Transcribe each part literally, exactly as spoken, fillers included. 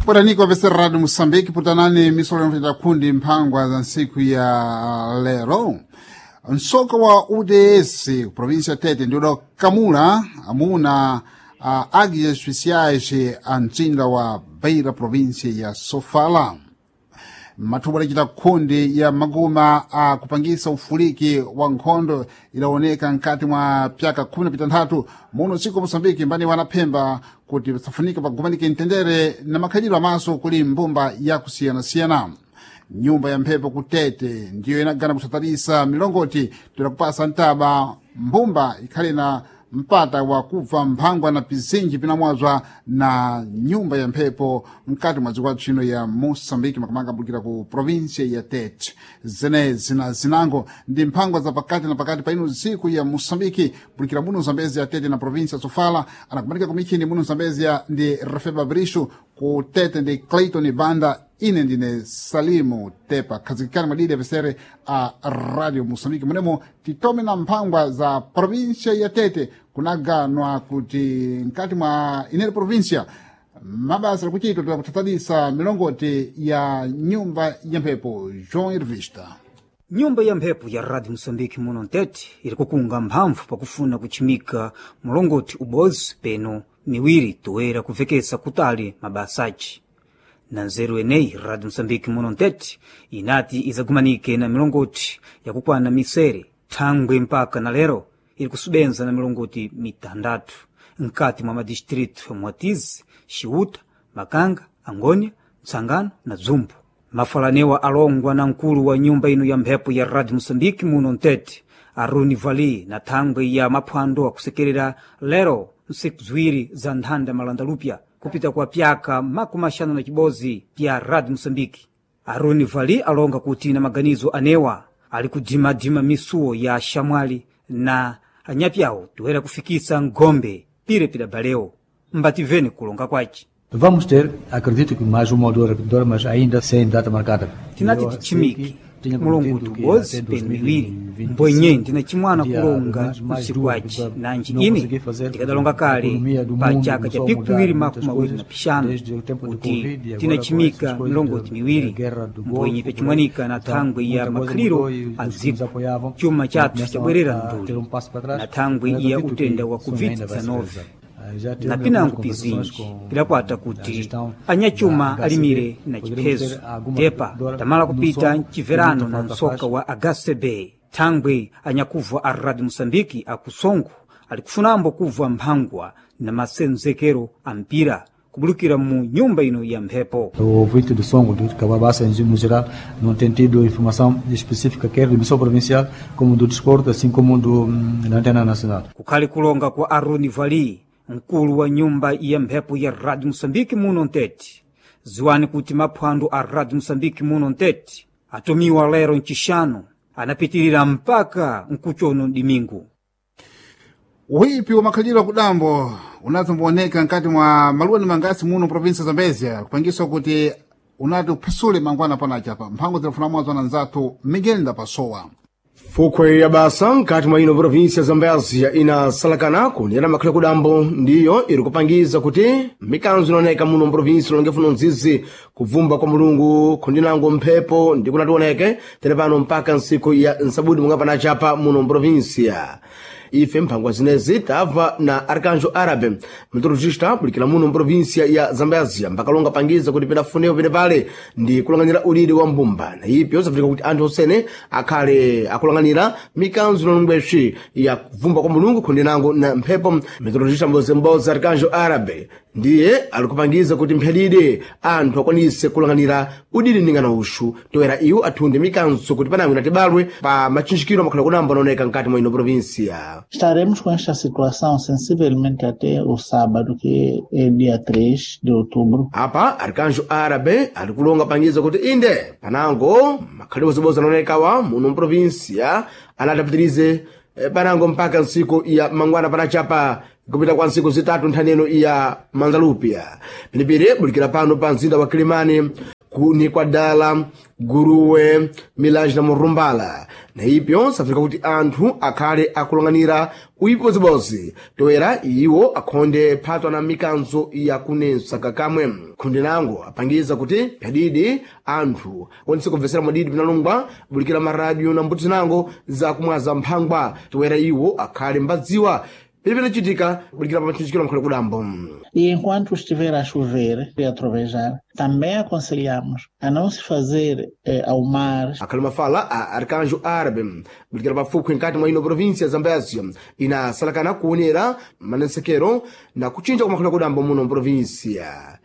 Potaniko veserrado Moçambique putanani misolo yomfita kundi mphangwa za ntsiku ya lero. Msoka wa U D S província ya Tete ndi udakamula amuna a águias especiais a mtsinda wa Beira, província ya Sofala. Mathubu adacita kundi ya maguma a kupangisa ufuliki wa nkhondo idaoneka mkati mwa pyaka khumi na pitantatu muno dziko Moçambique, mbani wanaphemba kuti pasafunika pagumanike mtendere na makhalidwe amaso kuli mbumba yakusiyanasiyana. Nyumba ya mphepo kutete ndiyo inagana kusatarisa milongoti toda ntaba mbumba ikhale na mpata wa kubva mphangwa na pizinji pinamwazwa na nyumba ya mphepo mkati mwa dziko tchino ya Moçambique, makamaka ambulukira ku província ya Tete. Zenezi na zinango ndi mphangwa za pakati na pakati pa ino dziko ya Moçambique, bulukira muno Zambezi ya Tete na província ya Sofala. Anakumanika kumichini muno Zambezia ndi Refeba Brisho, ku Tete ndi Clayton Banda, ine ndine Salimu Tepa. Khazikikani madidi apesere a Radio Moçambique munemo titome na mphangwa za província ya Tete. Kunaganwa kuti mkati mwa inere província mabasa akuchitwa toda milongoti ya nyumba ya mphepo. João Ervista. Nyumba ya mphepo ya Radio Moçambique muno Ntete iri kukunga mphamvu pakufuna kuchimika mulongoti ubozi peno miwiri toera kuvekesa kutali mabasa aci. Na nzeru eneyi, Radio Moçambique muno Ntete inati izagumanike na milongoti yakukwana misere thangwe mpaka na lero iri kusubenza na milongoti mitandatu nkati mwa madistritu ya Mwatizi, Xiuta, Makanga, Angônia, Mtsangano na Dzumbu. Mafalanewa alongwa na mkulu wa nyumba ino ya mphepo ya Radio Moçambique muno Ntete, Aruni Vali, na thangwe ya maphwando akusekerera lero nsiku ziwiri za nthanda malandalupya kupita kwa pyaka makumi axanu na cibozi pya Radio Moçambique. Aruni Vali alonga kuti na maganizo anewa ali kudimadima misuwo ya xamwali na anyapyawo toera kufikisa ngombe pire pidabalewo. Mbativeni kulonga kwace. Vamos ter, acredito que mais uma ou duas repetidoras, mas ainda sem data marcada. Tinati tichimiki mulonguti ubozi penu miwiri, mbwenye ndina chimwana kulonga usiku waci nanji ine ndikadalonga kale pa chaka cha piku piwiri makumi mawiri na pixanu kuti tinachimika milongoti miwiri, mbwenye pyachimwanika na thangwe ya makhaliro a dziko, chuma chathu chabwerera mduli na thangwe ya utenda wa COVID dezenove na pinango pizinji pidakwata kuti anyachuma alimire na chiphezo tepa tamala kupita mchiverano na msoka wa H C B. Thangwe anyakubva a Radio Moçambique akusongo alikufunambo kubva mphangwa na masenzekero a mpira kubulukira mu nyumba ino ya mphepo. O ouvinte do Songo, do Cababassa, no geral, não tem tido informação específica, quer do emissão provincial, como do desporto, assim como do, da antena nacional. Kukhali kulonga kwa Aruni Vali, mkulu wa nyumba ya mphepo ya Radio Moçambique muno Ntete. Ziwani kuti maphwando a Radio Moçambique muno Ntete atumiwa lero mcixanu anapitirira mpaka mkuchono dimingu. Uhipi wa makhalidwe akudambo unazombooneka mkati mwa maluwa ni mangasi muno província Zambezia kupangiswa kuti unati uphasule mangwana panachapa mphango zilafuna mwazo na nzathu Miguel Ndapasowa. Fukhwe ya basa nkati mwa ino província ya Zambézia inasalakana kunena makhala kudambo ndiyo iri kupangiza kuti mikanzo inaoneka muno mprovíncia ilonge nzizi kubvumba kwa mulungu khundinango mphepo ndi kunationeke tere pano mpaka nsiku ya nsabudi munga panachapa muno mprovíncia. Ife mphangwa zinezi tabva na Arcanjo Árabe, meteorologista bulikira muno mprovíncia ya Zambézia, mpakalonga pangiza kuti pidafunewo pene pale ndi kulang'anira uliri wa mbumba na ipyo zafunika kuti anthu osene akhale akulang'anira mikanzo inalongweswi ya kubvumba kwa mulungu khundinango na mphepo. Meteorologista mbozemboza Arcanjo Árabe ndiye alikupangiza kuti mphelide anthu akwanise kulang'anira udidi ningana ushu toera iwo athunde mikanzo kuti panangwe natibalwe pa machinjikiro amakhala kunamba anaoneka mkati mwa ino província. Estaremos com esta situação sensivelmente até o sábado, que é dia três de outubro. Apa Arcanjo Árabe alikulonga pangiza kuti inde panango makhalidwe bozibozi anaonekawa muno mprovíncia anatapitirize eh, panango mpaka nsiku ya mangwana panachapa kupita kwa nsiku zitatu nthaneno ya manzalupya pilipili bulikira pano pa mzinda wa Kilimani. kuni kwa dala guruwe milanji na murumbala na ipyo safika kuti anthu akhale akulang'anira uipi bozibozi toera iwo akhonde phatwa na mikanzo yakunensa kakamwe khonde nango apangiza kuti pyadidi anthu akwanise kubvesera mwadidi pinalungwa bulikira maradio na mbuto zinango zakumwaza mphangwa toera iwo akhale mbadziwa pili pinachitika bulikira pa mathinjikiro mkhale kudambo. E enquanto estiver a chover e a trovejar, também aconselhamos a não se fazer eh, ao mar. Akhali mafala a Arcanjo Árabe bulikira pafupi nkati mwa ino província ya Zambésia inasalakana kuonera manensekero na kuchinja kwa makhali kudambo muno mprovíncia.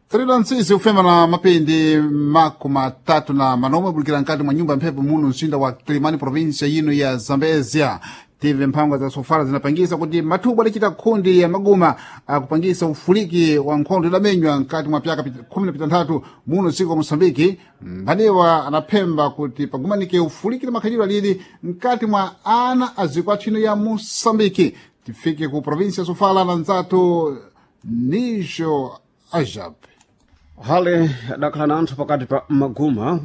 Trilo ntsisi kufema na mapindi makumi matatu na manomwe bulikira nkati mwa nyumba ya mphepo muno mzinda wa Kilimani província ino ya Zambésia. Tive mphangwa za sofala zinapangisa kuti mathubu adachita khundi ya maguma akupangisa ufuliki wa nkhondo idamenywa nkati mwa pyaka khumi na pitanthatu muno dziko wa Moçambike. Mphaniwa anaphemba kuti pagumanike ufuliki na makhalidwe alili nkati mwa ana a dziko atchino ya Moçambike. Tifike ku província ya Sofala na nzathu Nijo Ajab. Hale adakhala na anthu pakati pa maguma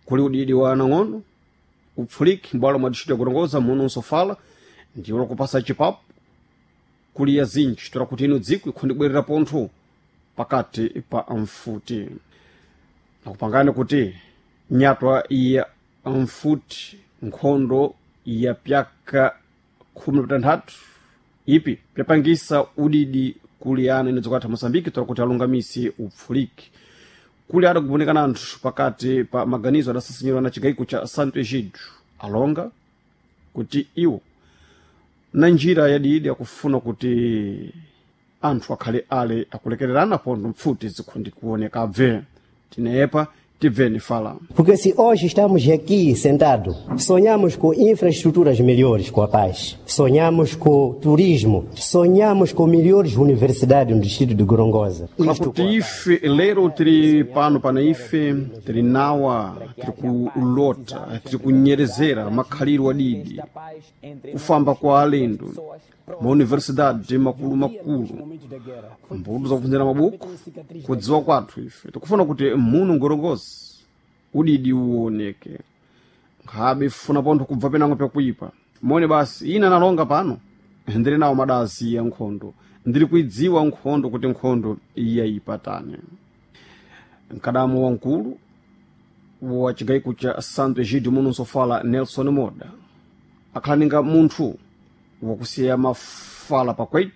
kuli udidi wa anang'ono upfuliki mbwalo mwa distrito yakutongoza muno nsofala ndiwo lakupasa chipapu kuli ya zinji tola kuti ino dziko ikhondibwerera pontho pakati pa mfuti nakupangani kuti nyatwa ya mfuti nkhondo ya pyaka khumi na pitanthatu ipi pyapangisa udidi kuli ana ino dziko latha Moçambike tola kuti alungamise upfuliki kuli adakuonekana anthu pakati pa maganizo adasasinyiwa na chigayiko cha Santo Egidio alonga kuti iwo na njira yadidi akufuna kuti anthu akhale ale akulekererana pontho mpfuti zikhundi kuoneka abve tineyepa tibveni fala. Porque se hoje estamos aqui sentados, sonhamos com infraestruturas melhores com a paz, sonhamos com turismo, sonhamos com melhores universidades no distrito de Gorongosa. Isto kuti ife lero tiri pano pana ife tiri nawa tiri kulota tiri kunyerezera makhaliro adidi kufamba kwa alendo mauniversidade makulu-makulu mbuto zakuphunzira mabuku kudziwa kwathu ife tikufuna kuti muno Gorongosa udidi uwoneke nkhabe funa pontho kubva penango pyakuipa mone basi ina nalonga pano ndili nawo madasi ya nkhondo ndili kuidziwa nkhondo kuti nkhondo iyayipatane mkadamo wamkulu wa chigayiko cha Santo Egidio muno nsofala Nelson Moda akhala ninga munthu wakusiya mafala pakwechi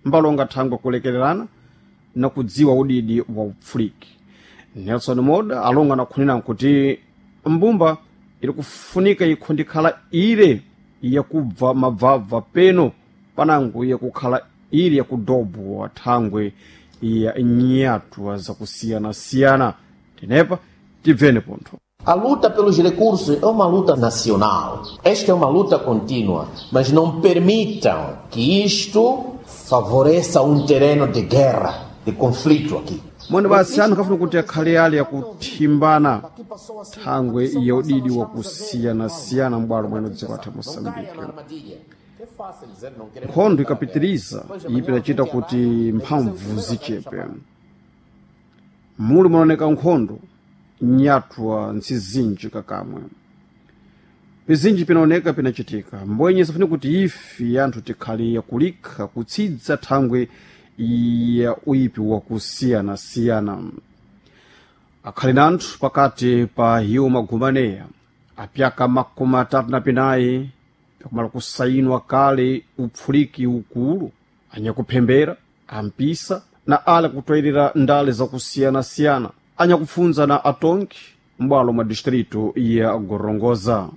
mbalonga thangwe kulekererana na kudziwa udidi wa upfuliki Nelson Moda alonga nakhunena kuti mbumba ili kufunika ikhundikhala ile yakubva mabvabva peno panango yakukhala ili yakudobwa thangwe ya nyatwa zakusiyanasiyana tinepa tibveni pontho. A luta pelos recursos é uma luta nacional. Esta é uma luta contínua, mas não permitam que isto favoreça um terreno de guerra, de conflito aqui. Mwene basi anthu akafuna kuti akhale ali akuthimbana thangwe ya udidi wakusiyanasiyana m'bwalo mwene dziko latha Moçambike. Nkhondo ikapitiriza ipi idachita kuti mphamvu zichepe muli munaoneka nkhondo nyatwa ntsizinji kakamwe pizinji pinaoneka pinachitika mbwenye safuni kuti ife anthu tikhale yakulikha kutsidza thangwe ya uipi wakusiyanasiyana akhali na anthu pakati pa iwo magumaneya apyaka makumi atatu na pinayi pyakumala kusayinwa kale upfuliki ukulu anyakuphembera ampisa na ale kutwayirira ndale zakusiyanasiyana anyakupfunza na atonki m'bwalo mwa distrito ya Gorongosa.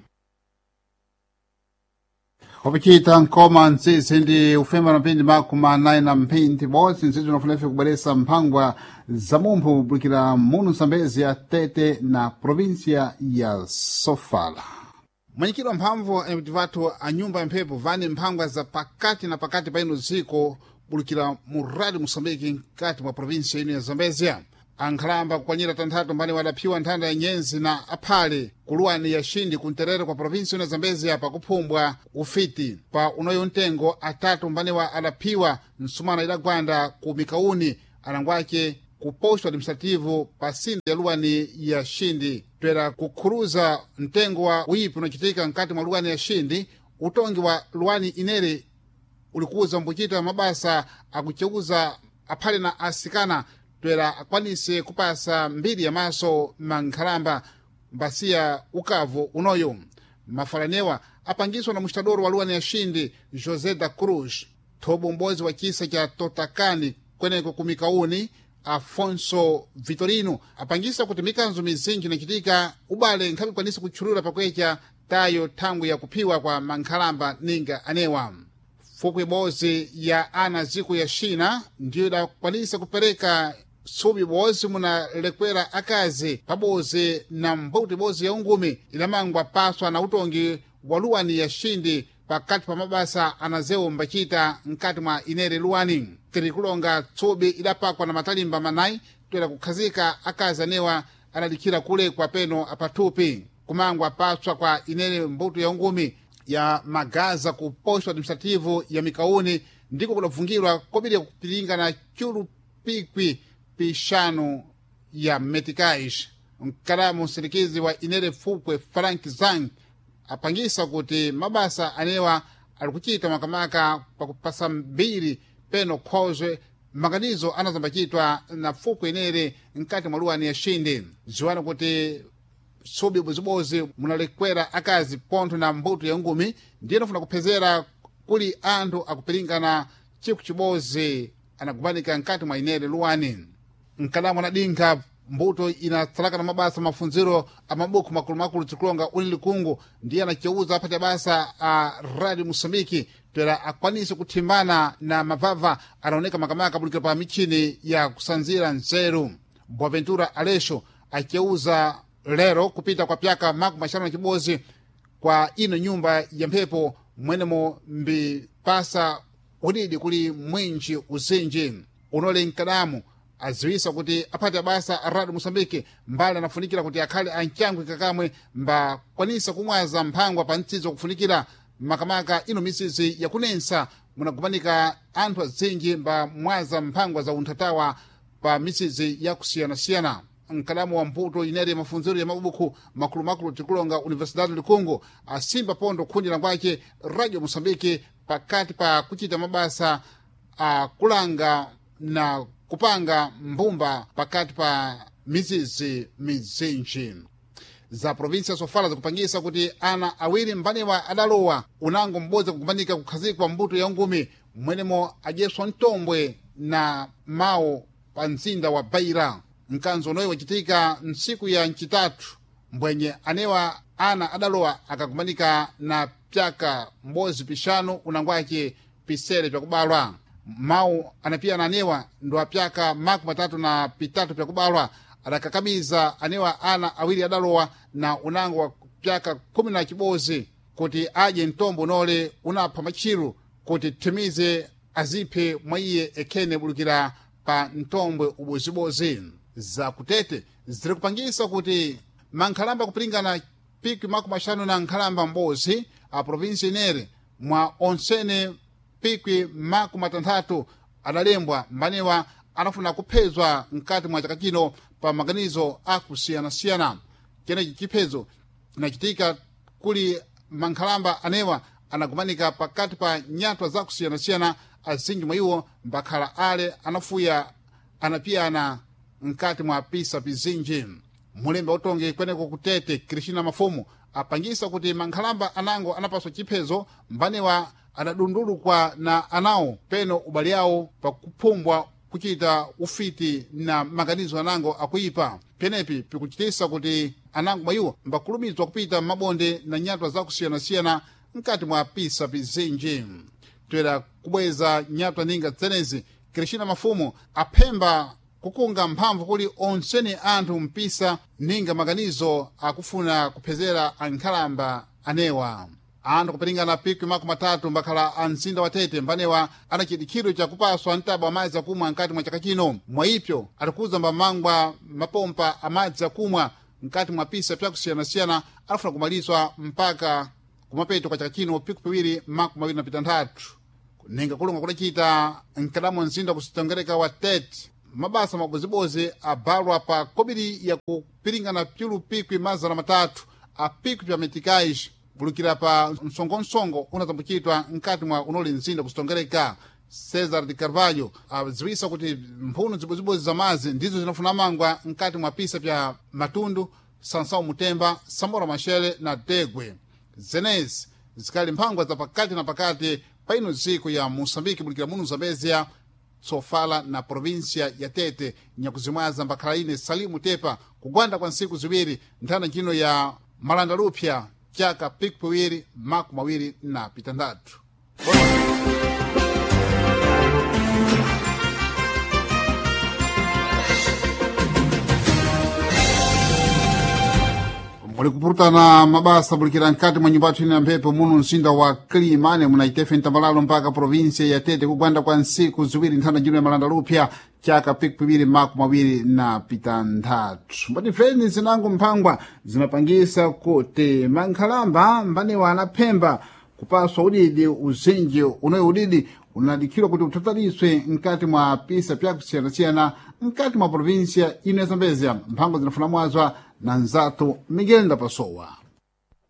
Wapichita nkoma ntsisi ndi ufemba na mphindi makumi anayi na mphindi bodzi ntsisi unafuna ife kubweresa mphangwa za mumphu kubulikira muno Nsambezi ya Tete na província ya Sofala. Mwenyekiti mphamvu ati vathu a nyumba ya mphepo vani mphangwa za pakati na pakati pa ino dziko bulikira mu radio Moçambique mkati mwa província ino ya Zambezia. Ankhalamba kukwanyira tanthatu mbani wadaphiwa nthanda ya nyenzi na aphale kuluwani ya xindi kunterere kwa província ino ya Zambezia pakuphumbwa ufiti pa unoyo mtengo atatu mbaniwa adaphiwa msumana idagwanda ku mikauni alangwace ku posto administrativo pa sinde ya luwani ya Xindi twera kukhuruza mtengo wa uyipi unachitika mkati mwa luwani ya Xindi. Utongi wa luwani inere ulikuza mbuchita mabasa akucheuza aphale na asikana twera akwanise kupasa mbiri ya maso mankhalamba mbasiya ukavu unoyo. Mafalanewa apangiswa na mustadoro wa luwani ya Xindi José da Cruz thobo m'bodzi wa chisa cha Totakani kweneko kumikauni Afonso Vitorino apangisa kuti mikanzo mizinji inachitika ubale nkhabe kwanisa kutchulula pakwecha tayo thangwi ya kuphiwa kwa mankhalamba ninga anewa. Fukwe ibodzi ya ana ziko ya China ndiyo idakwanisa kupereka subi ibodzi munalekwera akazi pabodzi na mbuto ibodzi ya ungumi idamangwa paswa na utongi wa luwani ya Xindi pakati pa mabasa anazewo mbachita mkati mwa inere luwani. Tiri kulonga tsubi idapakwa na matalimba manayi toera kukhazika akazi anewa anadikhira kulekwa peno apathupi kumangwa paswa kwa inere mbuto ya ungumi ya magaza ku posto administrativo ya mikauni ndiko kudavungirwa kobiri kupilinga na chulu pikwi pixanu ya meticais. Mkalamu msindikizi wa inere fukwe Frank Zang apangisa kuti mabasa anewa alikuchita makamaka pakupasa mbiri peno khozwe maganizo anazambachitwa na fukwe inere mkati mwa luwani ya Xindi. Ziwani kuti subi bozibozi munalekwera akazi pontho na mbuto ya ngumi ndiye nafuna kuphezera kuli anthu akupilingana chiku chibozi anagumanika mkati mwa inere luwani. Mkalamu anadinkha mbuto inatsalaka na mabasa mafunziro a mabuku makulumakulu tikulonga uni likungu ndiye anaceuza aphati basa a Radio Moçambique toera akwanise kuthimbana na mavava anaoneka makamaka bulikira pa michini ya kusanzira nzeru. Boaventura Aleixo aceuza lero kupita kwa pyaka makumi axanu na chibodzi kwa ino nyumba ya mphepo mwenemo mbipasa udidi kuli mwinji uzinji unole mkadamu aziwisa kuti aphati abasa a Radio Moçambique mbali anafunikira kuti akhale ancangwe kakamwe mbakwanisa kumwaza mphangwa pa mtsidzo kufunikira makamaka ino misizi yakunensa munagumanika anthu azinji mbamwaza mphangwa za unthatawa pa misizi yakusiyanasiyana. Mkalamu wa mputo inere mafunziro ya mabuku makulumakulu tikulonga Universidade Likungu asimba pondo khundi langwace Radio Moçambique pakati pa kuchita mabasa akulanga na kupanga mbumba pakati pa mizizi mizinji za provinsia sofala zikupangisa kuti ana awiri mbanewa adalowa unango m'bodzi kugumanika kukhazikwa mbuto ya ngumi mwenemo adyeswa mtombwe na mawu pa mzinda wa Beira. Mkanzo unoyi wachitika ntsiku ya ncitatu mbwenye anewa ana adalowa akagumanika na pyaka m'bodzi pixanu unangwace pisere pyakubalwa. Mawu anapiyana anewa ndo apyaka makumi atatu na pitatu pyakubalwa adakakamiza anewa ana awiri adalowa na unango wa pyaka khumi na chibodzi kuti adye mtombo unole unapha matchiru kuti thimize aziphe mwa iye ekhene bulukira pa mtombwe ubozibozi. Zakutete ziri kupangisa kuti mankhalamba kupilingana pikwi makumi axanu na nkhalamba m'bodzi a provinsi inere mwa onsene pikwi makumi atanthatu adalembwa mbanewa anafuna kuphezwa mkati mwa chaka chino pa maganizo akusiyanasiyana. Chenechi chiphezo chinachitika kuli mankhalamba anewa anagumanika pakati pa nyatwa zakusiyanasiyana azinji mwa iwo mbakhala ale anafuya anapiyana mkati mwa pisa pizinji. Mulembe utongi kweneko kutete Cristina Mafumu apangisa kuti mankhalamba anango anapaswa chiphezo mbanewa adadundulukwa na anawo peno ubale awo pakuphumbwa kuchita ufiti na maganizo anango akuipa. Penepi pikuchitisa kuti anango mwa iwo mbakulumizwa kupita mabonde na nyatwa zakusiyanasiyana mkati mwa pisa pizinji. Toera kubweza nyatwa ninga tsenezi Cristina Mafumu aphemba kukunga mphamvu kuli onsene anthu mpisa ninga maganizo akufuna kuphezera ankhalamba anewa. Anthu kupilingana pikwi makumi atatu mbakhala a mzinda wa Tete mbanewa ana chidikhiro chakupaswa mtaba wa madzi akumwa mkati mwa chaka chino. Mwaipyo atikuza mbamangwa mapompa amadzi akumwa mkati mwa pisa pyakusiyanasiyana alafuna kumalizwa mpaka kumapeto kwa chaka chino pikwi piwiri makumi awiri na pitanthatu. Ninga kulonga kudacita mkadamo mzinda kusitongereka wa Tete mabasa mabozibozi abalwa pa kobiri ya kupiringana pyulu pikwi mazana matatu a pikwi pya metikais bulukira pa msongonsongo unatambukitwa nkati mwa unoli mzinda kusitongereka. Cesar de Carvalho aziwisa kuti mphunu zibozibozi za mazi ndizo zinafuna mangwa nkati mwa pisa pya Matundu, Sansão Mutemba, Samora Machele na Degwe. Zenezi zikali mphangwa za pakati na pakati pa ino dziko ya Moçambique bulikira muno Zambezia, Sofala na província ya Tete. Nyakuzimwaza mbakhala ine Salimu Tepa kugwanda kwa ntsiku ziwiri nthanda ntchino ya Malanda Lupya chaka piku piwiri makumi mawiri na pitandatu. Muli kupurutana mabasa bulikira nkati mwa nyumba yathu ine ya mphepo muno mzinda wa Kilimane munaitefe mtambalalo mpaka província ya Tete kugwanda kwa ntsiku ziwiri nthanda njino ya Malanda Lupya chaka piku piwiri makumi mawiri na pitanthatu. Mbatifeni zinango mphangwa zimapangisa kuti mankhalamba mbanewa anaphemba kupaswa udidi uzinji unoyo udidi unadikhirwa kuti uthataliswe nkati mwa pisa pyakusiyanasiyana nkati mwa província ino ya Zambezia. Mphangwa zinafuna mwazwa na nzathu Miguel Ndapasowa.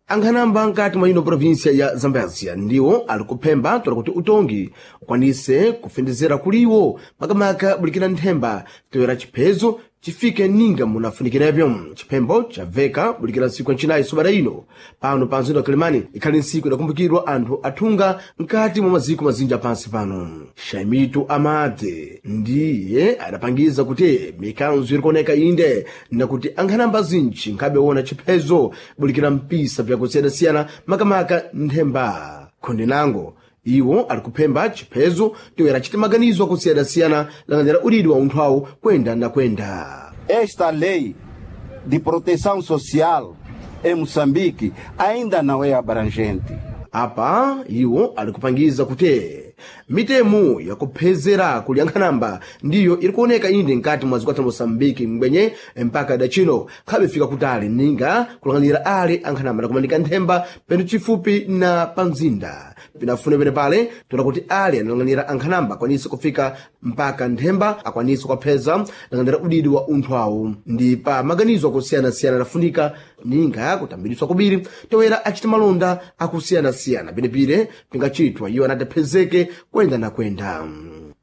Ankhanamba nkati mwa ino província ya Zambézia ndiwo ali kuphemba tola kuti utongi ukwanise kufendezera kuliwo makamaka bulikira nthemba toyera chiphezo chifike ninga munafunikirepyo. Chiphembo chabveka bulikira ntsiku ya ncinayi sobada ino pano pa mzinda wa Kilimani ikhali ntsiku idakumbukirwa anthu athunga nkati mwa maziko mazinji apansi pano. Shaimitu Amade ndiye adapangiza kuti mikanzo irikuoneka inde nakuti ankhanamba zinji nkhabe chiphezo bulikira mpisa vyakusiyanasiyana makamaka nthemba. Khonde nango iwo ali kuphemba chiphezo toyera chite maganizo akusiyana-siyana lang'anira udidi wa unthu awo kwenda na kwenda. Esta lei de proteção social em Moçambique ainda não é abrangente. Apa iwo ali kupangiza kuti mitemo yakuphezera kuli ankhanamba ndiyo iri kuoneka inde nkati mwa zikwata Moçambique mbwenye mpaka dachino khabe fika kutali ninga kulang'anira ali ankhanamba nakumanika nthemba penu chifupi na pamzinda pinafune pene pale tola kuti ali analang'anira ankhanamba akwanise kufika mpaka nthemba akwanise kukapheza lang'anira udidi wa unthu awo ndi pa maganizo akusiyana-siyana adafunika ninga kutambiriswa kubiri toera achita malonda akusiyana-siyana penepire pingachitwa iwo anatiphezeke kwenda na kwenda.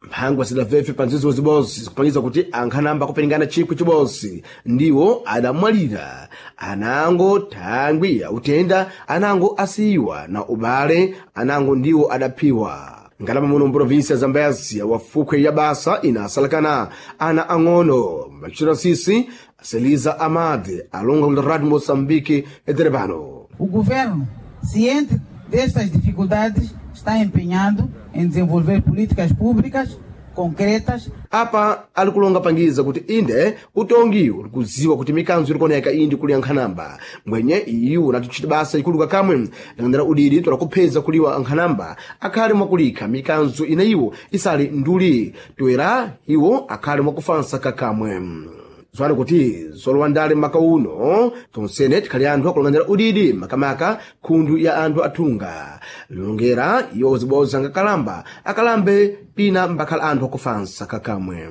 Mphangwa sidabvefe pa nzizo zibodzi zikupangiza kuti ankhanamba akuperingana chikwi chibodzi ndiwo adamwalira anango thangwi ya utenda anango asiyiwa na ubale anango ndiwo adaphiwa. Ngalama muno mprovinsi ya Zambézia wafukhwe ya basa inasalakana ana ang'ono mbachita sisi Seliza Amade alonga kula Radio Moçambique eterebano. O governo, ciente destas dificuldades, está empenhado em desenvolver políticas públicas concretas. Apa ali kulonga pangiza kuti inde utongi uli kuziwa kuti mikanzo irikuoneka indi kuli ankhanamba mbwenye iwo natuchita basa ikuluka kamwe lang'anira udidi tola kupheza kuliwa ankhanamba akhale mwakulikha mikanzo ina iwo isali nduli toera iwo akhale mwakufansa kakamwe. Zwali kuti zolowa ndale maka uno tonsene tikhali anthu akulang'anira udidi makamaka khundu ya anthu athunga longera iwo ziboza ngakalamba akalambe pina mbakhala anthu akufansa kakamwe.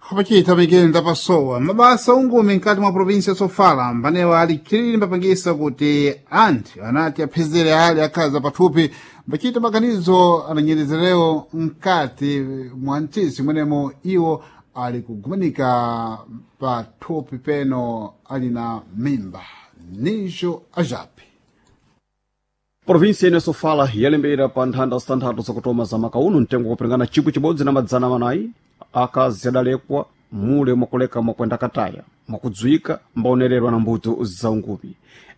Kupachita Miguel Ndapasowa. Mabasa ungumi nkati mwa província ya Sofala mbanewa ali chilili mbapangisa kuti anthu anati aphezere ali akhaza pathupi mbachita maganizo ananyerezerewo nkati mwa mtisi mwenemo iwo ali kugumanika pathupi peno ali na mimba. Nijo ajapi Província ino Sofala yalembera pa nthanda zitanthatu zakutoma za maka uno mtengo wakuperingana chikwi chibodzi na madzana manayi akazi adalekwa mule mwakuleka mwakwenda kataya mwakudzwika mbaonererwa na mbuto za ungupi.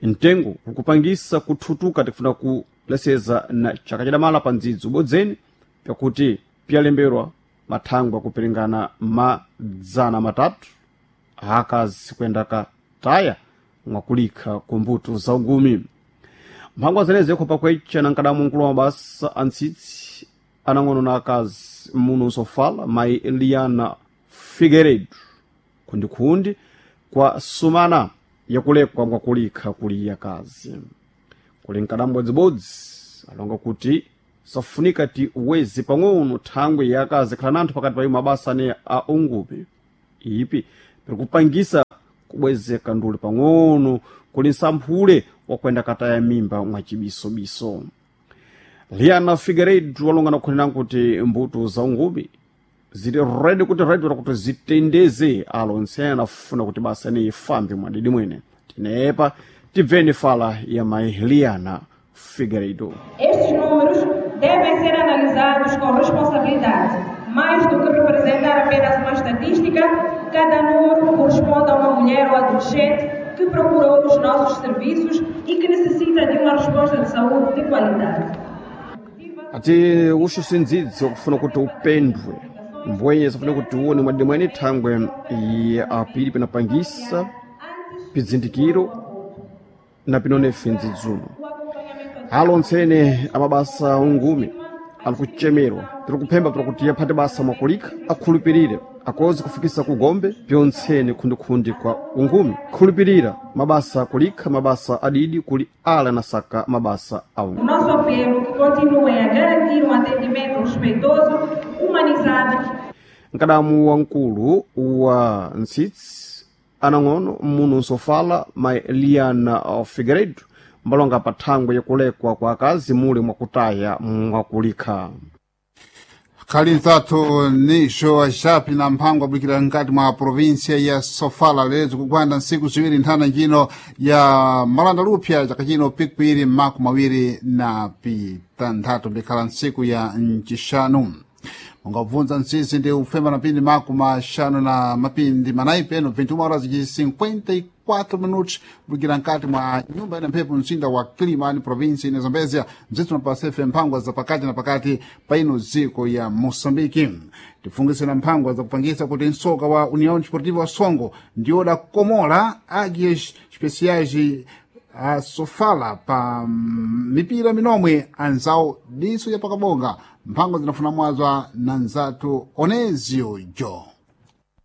Mtengo ukupangisa kuthutuka tikufuna kuleseza na chaka chadamala pa ndzidzi ubodzeni pakuti pyalemberwa mathangwe akuperingana madzana matatu akazi kwenda kataya mwakulikha ku mbuto za ungumi. Mphangwa zenezi yakhopa kwecha na nkadamu mkulu wa mabasa antsitsi anang'ono na akazi muno Sofala mayi Liana Figueiredo khundikhundi kwa sumana yakulekwa mwakulikha kuli akazi. Kuli nkadamu bodzibodzi alonga kuti Safunika ti wezi pang'ono thangwe yakazi khala nanthu pakati pa mabasa ane a ungupi ipi pirikupangisa kubwezeka nduli pang'ono kuli nsamphule wakwenda kataya mimba mwachibisobiso. Liana Figueiredo walongana kukhonena kuti mbuto za ungupi zili redi kuti redi kuti zitendeze alo ntsena afuna kuti basa ine ifambe mwadidi mwene. Tinepa tibveni fala ya mai Liana Figueiredo. Estes números devem ser analisados com responsabilidade. Mais do que representar apenas uma estatística, cada número corresponde a uma mulher ou adolescente que procurou os nossos serviços e que necessita de uma resposta de saúde de qualidade. Ati uxo sindzidzi wakufuna kuti upendwe mbwenye safuna kuti uone mwadidi mwene thangwe ya apiri pinapangisa pizindikiro na pinone findzidzuno. Alo ntsene amabasa ungumi ali kuchemerwa tiri kuphemba pira kuti yaphate basa mwakulika akhulupirire akoze kufikisa kugombe pyontsene khundikhundi kwa ungumi khulupirira mabasa kulikha mabasa adidi kuli ala nasaka mabasa a ungumi. O nosso apelo que continuem a garantir um atendimento respeitoso, humanizado. Nkadamu wamkulu wa ntsitsi anang'ono muno nsofala mai Liana Figueiredo mbalonga pa thangwe yakulekwa kwa akazi muli mwakutaya mwakulikha. Khali ntsathu nixo axapi na mphango abwikira nkati mwa província ya Sofala lero kugwanda ntsiku ziwiri nthana njino ya malanda lupya chaka chino pikwiri maku mawiri na pitanthatu mbikhala ntsiku ya mcixanu. Mungabvunza ntsisi ndi ufema na pindi maku maxanu na mapindi manayi peno vinte e uma horas de cinquenta e quatro minutos kubwikira nkati mwa nyumba ina mphepo mzinda wa Kilimani província ina Zambezia mzithu napasefe mphangwa za pakati na pakati pa ino dziko ya Moçambique. Tifungise na mphangwa zakupangisa kuti msoka wa União Desportiva wa Songo ndiwo dakomola águias especiais a Sofala pa mipira minomwe anzawo diso ya pakabonga. Mphango zinafuna mwazwa na nzathu Onezio Jo.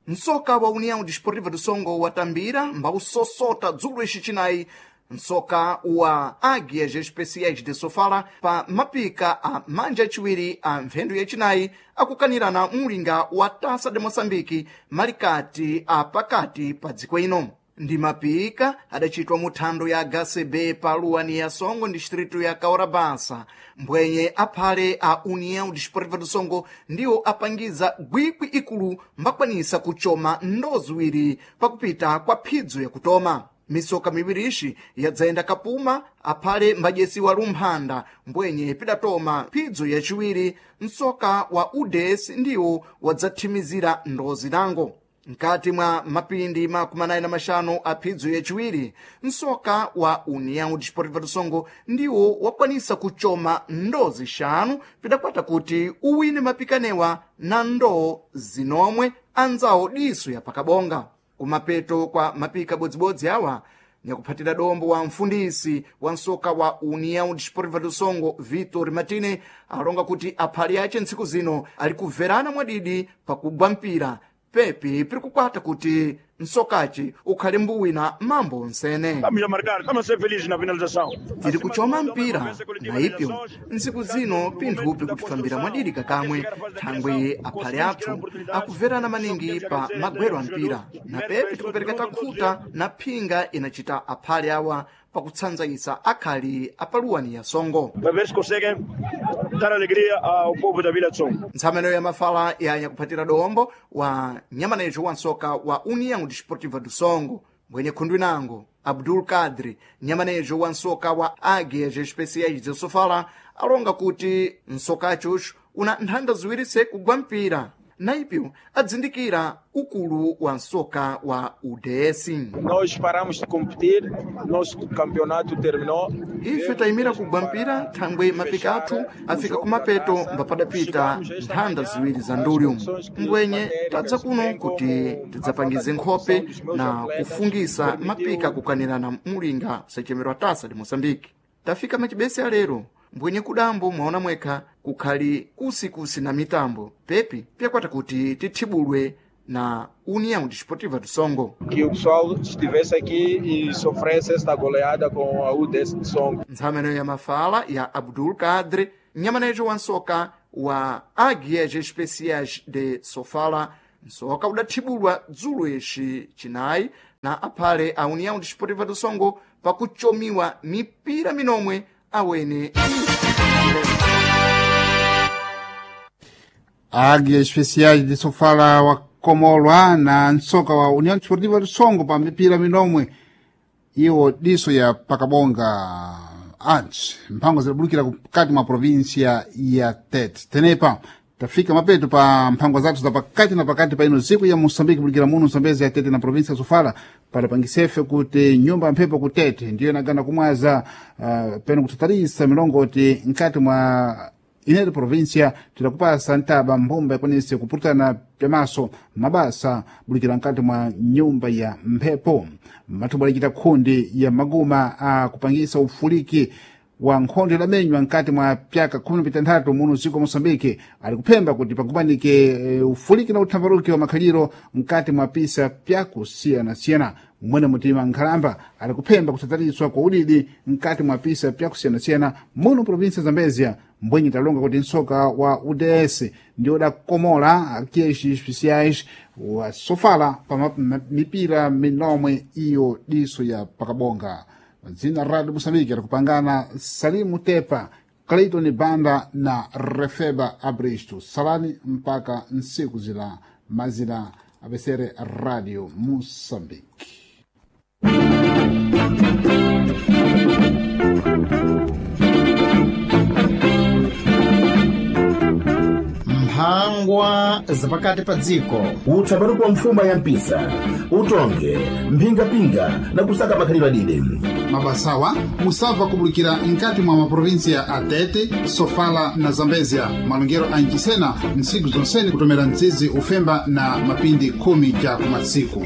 Msoka wa União Desportiva do Songo watambira mbawusosota dzulo ixicinayi msoka wa Águias Especiais de Sofala pa mapika a manja aciwiri a mphendu yacinayi akukanirana mlinga wa Taça de Moçambique malikati a pakati pa dziko ino. Ndi mapika adacitwa muthando ya H C B pa luwani ya Songo distrito ya Kaurabasa. Mbwenye aphale a União Desportiva do Songo ndiwo apangiza gwikwi ikulu mbakwanisa kuchoma ndo ziwiri pakupita kwa phidzo yakutoma. Misoka miwiri ixi yadzayenda kapuma aphale mbadyesiwa lumphanda mbwenye pidatoma phidzo yaciwiri msoka wa U D S ndiwo wadzathimizira ndozi nango. Nkati mwa mapindi makumi anayi na maxanu a phidzo yaciwiri msoka wa União Desportiva do Songo ndiwo wakwanisa kuchoma ndoo zixanu pidakwata kuti uwine mapikanewa na ndoo zinomwe anzawo diso ya pakabonga. Kumapeto kwa mapika bodzibodzi awa nyakuphatira dombo wa mfundisi wa msoka wa União Desportiva do Songo Vitor Martine alonga kuti aphale ace ntsiku zino ali kuverana mwadidi pakugwa mpira pepi piri kukwata kuti msokaci ukhale mbuwina mambo onsene. Tiri kuchoma mpira na ipyo ntsiku zino pinthu pikutifambira mwadidi kakamwe thangwe aphale athu akuverana maningi pa magwero a mpira na pepi tikupereka takhuta na phinga inacita aphale awa pakutsanzayisa akhali apaluwani ya Songo. Ntsameno ya mafala ya nyakuphatira dombo wa nyamanejo wa nsoka wa União Desportiva do Songo mbwenye khundu inango Abdul Kadri nyamanejo wa nsoka wa Águias Especiais de Sofala alonga kuti nsokachuxu una nthanda ziwiri se kugwa mpira na ipyo adzindikira ukulu wa nsoka wa U D S. Nós paramos de competir, nosso campeonato terminou. Ife tayimira kugwa mpira thangwe mapika athu afika kumapeto mbapadapita nthanda ziwiri za ndulyo. Mbwenye tadza kuno kuti tidzapangize nkhope na kufungisa mapika kukanirana mulinga sachemerwa Taça de Moçambique. Tafika machibese alero mbwenye kudambo mwaona mwekha kukhali kusikusi na mitambo pepi pyakwata kuti tithibulwe na União Desportiva do Songo. Que o pessoal estivesse aqui e sofresse esta goleada com a U D S de Songo. Ntsameno ya mafala ya Abdul Kadri Nyamanejo wa nsoka wa Águias Especiais de Sofala. Nsoka udathibulwa dzulo ixi cinayi na aphale a União Desportiva do Songo pakuchomiwa mipira minomwe awene. Águias Especiais de Sofala wakomolwa na nsoka wa União Desportiva do Songo pa mipira minomwe iwo diso ya pakabonga antes mphango zidabulukira kati mwa província ya Tete. Tenepa tafika mapeto pa mphango zathu za pakati na pakati pa ino ziku ya Moçambique bulukira muno Zambezi ya Tete na província ya Sofala para pangisefe kuti nyumba ya mphepo ku Tete ndiyo inagana kumwaza uh, peno kutatarisa milongoti nkati mwa inete província tidakupasa ntaba mbumba ikwanise kupurutana pyamaso mabasa bulikira nkati mwa nyumba ya mphepo. Mathumbo adacita khundi ya maguma a kupangisa ufuliki wa nkhondo idamenywa nkati mwa pyaka khumi na pitanthatu muno dziko wa Moçambique ali kuphemba kuti pakumanike e, ufuliki na uthambaruki wa makhaliro nkati mwa pisa pyakusiyanasiyana. Mwene mutima nkhalamba ali kuphemba kusataliswa kwa udidi nkati mwa pisa pyakusiyanasiyana muno província Zambezia. Mbwenye talonga kuti nsoka wa U D S ndi udakomola Águias Especiais wa Sofala pa mipira minomwe iyo diso ya pakabonga. Dzina Radio Moçambique rakupangana Salimu Tepa, Clayton Banda na Refeba Abristo. Salani mpaka nsiku zila mazila apesere Radio Moçambique. Mphangwa zapakati pa dziko. Utsaparuko wa mfuma ya mpisa utonge mphingapinga na kusaka makhalidwe adide. Mabasawa musabva kubulikira nkati mwa maprovinsia a Tete, Sofala na Zambezia. Malongero a Nchisena ntsiku zonsene kutomera mzizi ufemba na mapindi khumi cha kumasiku.